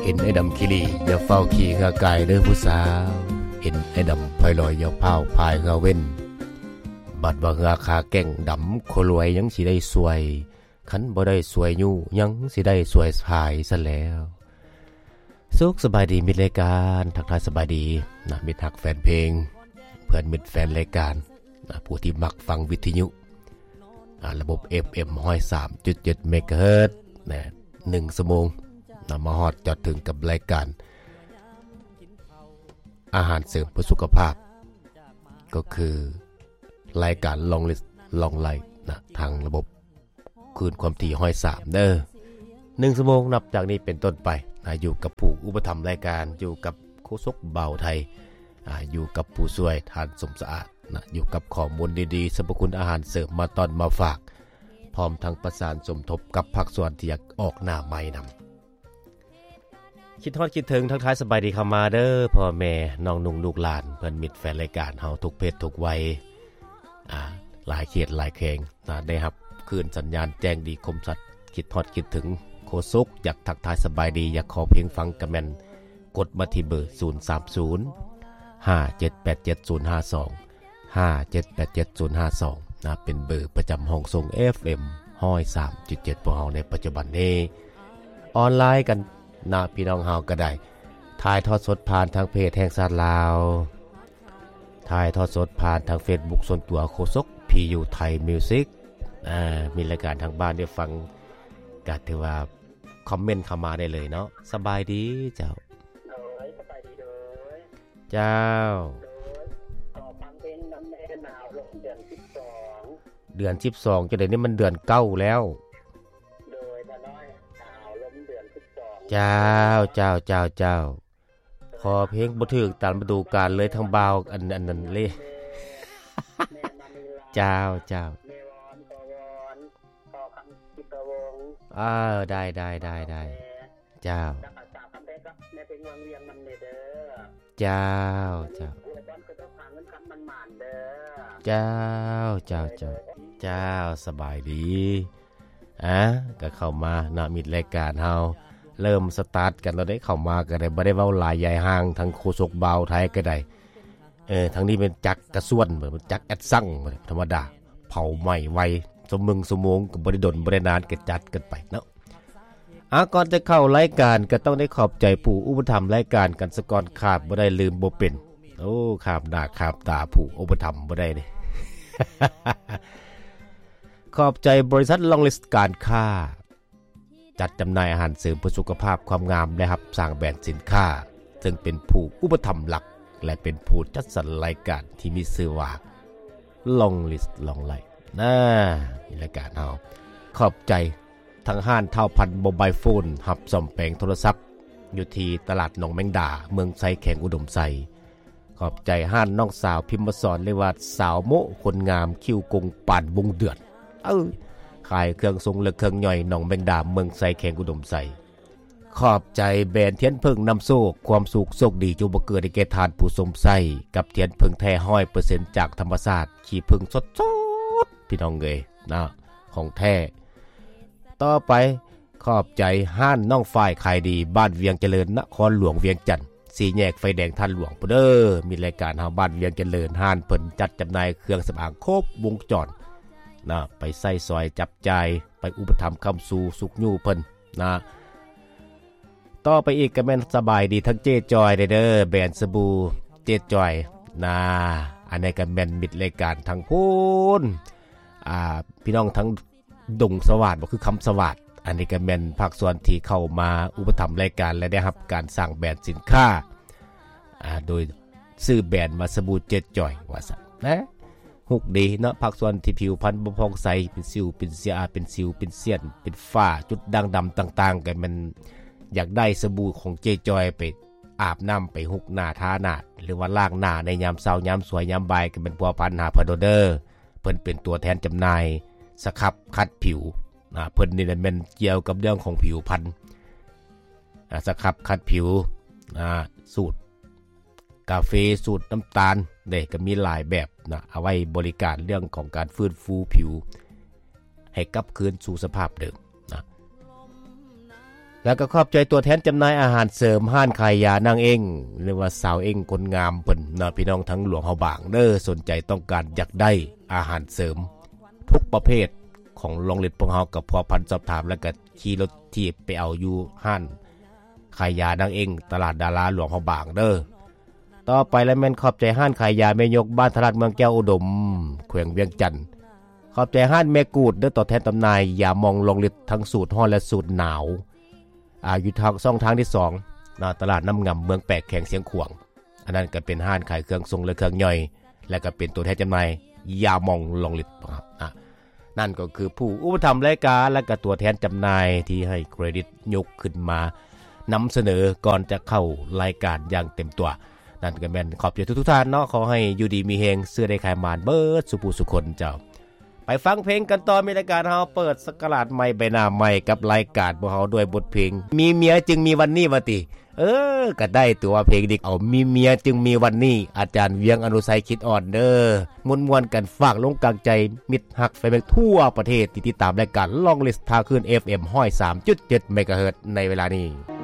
ເຫັນອ້າຍດຳຂີ້ຫຼີ້ ຢ່າຟ້າວຂີ່ເຮືອກາຍເດີຜູ້ສາວ, ເຫັນອ້າຍດຳພາຍລອຍ ຢ່າຟ້າວພາຍເຮືອເວັນ, ບັດວ່າເຮືອຂາແກ່ງດຳ ຄົນລວຍຍັງຊິໄດ້ຊ່ວຍ, ຄັນບໍ່ໄດ້ຊ່ວຍຍູ້ ຍັງຊິໄດ້ຊ່ວຍພາຍຊັ້ນແລ້ວ. ສຸກສະບາຍດີມິດລາຍການ, ທັກທາຍສະບາຍດີນະ ມິດຮັກແຟນເພງ, ເພື່ອນມິດແຟນລາຍການນະ ຜູ້ທີ່ມັກຟັງວິທະຍຸ ອາ ລະບົບເອັຟເອັມຮ້ອຍສາມຈຸດເຈັດເມກາເຮີດນະ, ໜຶ່ງຊົ່ວໂມງນະ ມາຮອດຈອດເຖິງກັບລາຍການອາຫານເສີມເພື່ອສຸຂະພາບ, ກໍຄືລາຍການ Long List Long Life ນະ ທາງລະບົບ ຄືນຄວາມຖີ່ຮ້ອຍສາມເດີ. ໜຶ່ງຊົ່ວໂມງນັບຈາກນີ້ເປັນຕົ້ນໄປນະ ຢູ່ກັບຜູ້ອຸປະຖຳລາຍການ, ຢູ່ກັບໂຄສົກບ່າວໄທ, ອາ ຢູ່ກັບຜູ້ຊ່ວຍທ່ານສົມສະອາດນະ, ຢູ່ກັບຂໍ້ມູນດີໆ ສັບພະຄຸນອາຫານເສີມມາຕ້ອນມາຝາກ, ພ້ອມທັງປະສານສົມທົບກັບພາກສ່ວນທີ່ຢາກອອກໜ້າໃໝ່ນຳ. ຄິດຮອດຄິດເຖິງ ທັກທາຍສະບາຍດີເຂົ້າມາເດີ ພໍ່ແມ່ນ້ອງນຸ່ງລູກຫຼານ ເພື່ອນມິດແຟນລາຍການເຮົາທຸກເພດທຸກໄວ, ອາ ຫຼາຍເຂດຫຼາຍແຂວງນະ ໄດ້ຮັບຄື້ນສັນຍານແຈ້ງດີຄົມຊັດ. ຄິດຮອດຄິດເຖິງໂຄສົກ ຢາກທັກທາຍສະບາຍດີ ຢາກຂໍເພງຟັງກະແມ່ນກົດມາທີ່ເບີ ສູນສາມສູນ ຫ້າເຈັດແປດເຈັດ ສູນຫ້າສອງ ຫ້າເຈັດແປດເຈັດ ສູນຫ້າສອງນະ, ເປັນເບີປະຈຳຫ້ອງສົ່ງເອັຟເອັມຮ້ອຍສາມຈຸດເຈັດ ພວກເຮົາໃນປັດຈຸບັນນີ້. ອອນລາຍກັນນະ ພີ່ນ້ອງເຮົາກໍໄດ້ ຖ່າຍທອດສົດຜ່ານທາງເພຈແຫ່ງຊາດລາວ, ຖ່າຍທອດສົດຜ່ານທາງເຟສບຸກສ່ວນຕົວໂຄສົກ ພີ ຢູ ໄທ ມິວຊິກ. ອາ ມີລາຍການທາງບ້ານໄດ້ຟັງ ກໍຖືວ່າຄອມເມັນເຂົ້າມາໄດ້ເລີຍເນາະ. ສະບາຍດີເຈົ້າ. ໂດຍ ສະບາຍດີ ໂດຍ ເຈົ້າ. ໂດຍ ຂໍຟັງເພງນຳແດ່ ໜາວລົມເດືອນສິບສອງ. ເດືອນສິບສອງ ຈັ່ງໃດນີ້ມັນເດືອນເກົ້າແລ້ວ. ໂດຍ ຕານ້ອຍ ໜາວລົມເດືອນສິບສອງ. ເຈົ້າ ເຈົ້າ ເຈົ້າ ເຈົ້າ. ຂໍເພງບໍ່ຖືກຕາມລະດູການເລີຍ ທາງບ່າວ ອັນ ອັນນັ້ນເລີຍ. ແມ່ມະນີລາ ເຈົ້າ ເຈົ້າ. ແມ່ວອນ ພໍ່ວອນ ພໍ່ຄຳ ທິດພະວົງ. ເອີ ໄດ້ ໄດ້ ໄດ້ ໄດ້. ເຈົ້າ ແລ້ວກໍສາວຄຳແພງກັບແມ່ເພັງວັງວຽງນຳແດ່ເດີ. ເຈົ້າ ເຈົ້າ. ອວຍພອນຂະເຈົ້າຫາເງິນຄຳໝານໆເດີ. ເຈົ້າ ເຈົ້າ ເຈົ້າ ເຈົ້າ. ສະບາຍດີ. ອາ ກໍເຂົ້າມາເນາະ ມິດລາຍການເຮົາ ເລີ່ມສະຕາດກັນແລ້ວເດ້. ເຂົ້າມາກໍໄດ້ ບໍ່ໄດ້ເວົ້າຫຼາຍຍາຍຫ່າງ ທັງໂຄສົກບ່າວໄທກໍໄດ້. ເອີ ທາງນີ້ແມ່ນຈັກກະຊວນ ຈັກແອັດຊັງ ທຳມະດາ ເຜົາໄໝ້ໄວ ຊົ່ວໂມງ ຊົ່ວໂມງກໍບໍ່ໄດ້ດົນ ບໍ່ໄດ້ນານ ກໍຈັດກັນໄປເນາະ. ອາ ກ່ອນຈະເຂົ້າລາຍການ ກໍຕ້ອງໄດ້ຂອບໃຈຜູ້ອຸປະຖຳລາຍການກັນສະກ່ອນ ຂາດບໍ່ໄດ້ ລືມບໍ່ເປັນ. ໂອ້ ຂາມໜ້າຂາມຕາຜູ້ອຸປະຖຳບໍ່ໄດ້ເດ້. ຂອບໃຈບໍລິສັດ Long List ການຄ້າ ຈັດຈຳໜ່າຍອາຫານເສີມເພື່ອສຸຂະພາບຄວາມງາມ ແລະ ຮັບສ້າງແບຣນສິນຄ້າ, ເຊິ່ງເປັນຜູ້ອຸປະຖຳຫຼັກ ແລະ ເປັນຜູ້ຈັດສັນລາຍການທີ່ມີຊື່ວ່າ Long List Long Life ນະ ໃນລາຍການເຮົາ. ຂອບໃຈທາງຮ້ານທ້າວພັນໂມບາຍໂຟນ ຮັບສ້ອມແປງໂທລະສັບ ຢູ່ທີ່ຕະຫຼາດໜອງແມງດາ ເມືອງໄຊ ແຂວງອຸດົມໄຊ. ຂອບໃຈຮ້ານນ້ອງສາວພິມມະສອນ ຫຼືວ່າສາວໂມະ ຄົນງາມຄິ້ວກົງປານວົງເດືອນ ເອີ ຂາຍເຄື່ອງຊົງ ແລະ ເຄື່ອງຍ່ອຍ ໜອງແມງດາ ເມືອງໄຊ ແຂວງອຸດົມໄຊ. ຂອບໃຈແບຣນທຽນເຜິ້ງນຳໂຊກ ຄວາມສຸກໂຊກດີຈົ່ງບັງເກີດໃຫ້ແກ່ທ່ານຜູ້ຊົມໃຊ້ ກັບທຽນເຜິ້ງແທ້ຮ້ອຍເປີເຊັນຈາກທຳມະຊາດ ຂີ້ເຜິ້ງສົດໆ ພີ່ນ້ອງເອີຍນະ ຂອງແທ້. ຕໍ່ໄປ ຂອບໃຈຮ້ານນ້ອງຝ້າຍຂາຍດີ ບ້ານວຽງຈະເລີນ ນະຄອນຫຼວງວຽງຈັນ ສີ່ແຍກໄຟແດງທາດຫຼວງພຸ້ນເດີ. ມີລາຍການເຮົາ ບ້ານວຽງຈະເລີນ ຮ້ານເພິ່ນຈັດຈຳໜ່າຍເຄື່ອງສຳອາງຄົບວົງຈອນນະ ໄປໃຊ້ສອຍຈັບຈ່າຍ ໄປອຸປະຖຳຄ້ຳຊູຊຸກຍູ້ເພິ່ນນະ. ຕໍ່ໄປອີກກໍແມ່ນສະບາຍດີທັງເຈ້ຈອຍເດີ ແບຣນສະບູເຈ້ຈອຍນະ. ອັນນີ້ກໍແມ່ນມິດລາຍການທັງພຸ້ນ ອ່າ ພີ່ນ້ອງທັງ ດົງສະຫວາດ ບໍ່ຄືຄຳສະຫວາດ. ອັນນີ້ກໍແມ່ນພາກສ່ວນທີ່ເຂົ້າມາອຸປະຖຳລາຍການ ແລະ ໄດ້ຮັບການສ້າງແບຣນສິນຄ້າ ອາ ໂດຍຊື່ແບຣນວ່າສະບູເຈັດຈອຍວ່າຊັ້ນນະ. ຮຸກດີເນາະ ພາກສ່ວນທີ່ຜິວພັນບໍ່ຜ່ອງໃສ ເປັນສິວ ເປັນເສຍ ເປັນສິວ ເປັນເສຍນ ເປັນຝ້າ ຈຸດດ່າງດຳຕ່າງໆ ກໍແມ່ນຢາກໄດ້ສະບູຂອງເຈັດຈອຍໄປອາບນ້ຳ ໄປຮຸກໜ້າ ທາໜ້າ ຫຼືວ່າລ້າງໜ້າໃນຍາມເຊົ້າ ຍາມສວຍ ຍາມບ່າຍ ກໍແມ່ນພົວພັນຫາເພິ່ນໂລດເດີ. ເພິ່ນເປັນຕົວແທນຈຳໜ່າຍສະຄັບຂັດຜິວນະ. ເພິ່ນນີ້ແມ່ນກ່ຽວກັບເລື່ອງຂອງຜິວພັນ ອາ ສະຄັບຂັດຜິວ ອາ ສູດກາເຟ ສູດນ້ຳຕານເດ້ ກໍມີຫຼາຍແບບນະ ເອົາໄວ້ບໍລິການເລື່ອງຂອງການຟື້ນຟູຜິວໃຫ້ກັບຄືນສູ່ສະພາບເດີມນະ. ແລ້ວກໍຂອບໃຈຕົວແທນຈຳໜ່າຍອາຫານເສີມ ຮ້ານຂາຍຢານາງເອັ້ງ ຫຼືວ່າສາວເອັ້ງຄົນງາມເພິ່ນເນາະ ພີ່ນ້ອງທາງຫຼວງພະບາງເດີ ສົນໃຈຕ້ອງການຢາກໄດ້ອາຫານເສີມທຸກປະເພດຂອງລອງລິດ ພວກເຮົາກໍພົວພັນສອບຖາມ ແລ້ວກໍຂີ່ລົດຖີບໄປເອົາຢູ່ຮ້ານຂາຍຢານາງເອັ້ງ ຕະຫຼາດດາລາ ຫຼວງພະບາງເດີ. ຕໍ່ໄປລະແມ່ນຂອບໃຈຮ້ານຂາຍຢາແມ່ຍົກ ບ້ານທະລາດ ເມືອງແກ້ວອຸດົມ ແຂວງວຽງຈັນ. ຂອບໃຈຮ້ານແມ່ກູດເດີ ຕົວແທນຈຳໜ່າຍຢາໝອງລອງລິດ ທັງສູດຮ້ອນ ແລະ ສູດໜາວ ອາ ຢູ່ທາງຊ່ອງທາງທີສອງ ນະ ຕະຫຼາດນ້ຳງຳ ເມືອງແປກ ແຂວງຊຽງຂວາງ. ອັນນັ້ນກໍເປັນຮ້ານຂາຍເຄື່ອງຊົງ ແລະ ເຄື່ອງຍ່ອຍ ແລະ ກໍເປັນຕົວແທນຈຳໜ່າຍຢາໝອງລອງລິດ ອາ ນັ້ນກໍຄືຜູ້ອຸປະຖຳລາຍການ ແລະ ກໍຕົວແທນຈຳໜ່າຍທີ່ໃຫ້ເຄຣດິດຍົກຂຶ້ນມານຳສະເໜີກ່ອນຈະເຂົ້າລາຍການຢ່າງເຕັມຕົວ. ນັ້ນກໍແມ່ນຂອບໃຈທຸກໆທ່ານເນາະ ຂໍໃຫ້ຢູ່ດີມີແຮງ ຊື້ໄດ້ຂາຍໝານເບິດສູ່ຜູ້ສູ່ຄົນເຈົ້າ. ໄປຟັງເພງກັນຕໍ່ ມີລາຍການເຮົາເປີດສັກກະລາດໃໝ່ ໃບໜ້າໃໝ່ ກັບລາຍການພວກເຮົາດ້ວຍບົດເພງ ມີເມຍຈຶ່ງມີວັນນີ້ ວ່າຕິ. ເອີ ກໍໄດ້ຕົວະ ເພງນີ້ເອົາ ມີເມຍຈຶ່ງມີວັນນີ້ ອາຈານວຽງ ອະນຸໄຊ ຄິດອ່ອນເດີ. ມ່ວນໆກັນ ຝາກລົງກາງໃຈມິດຮັກແຟນເພງທົ່ວປະເທດທີ່ຕິດຕາມລາຍການລອງລິດ ທາງຄື້ນ ເອັຟເອັມ ຮ້ອຍສາມຈຸດເຈັດ ເມກາເຮີດ ໃນເວລານີ້.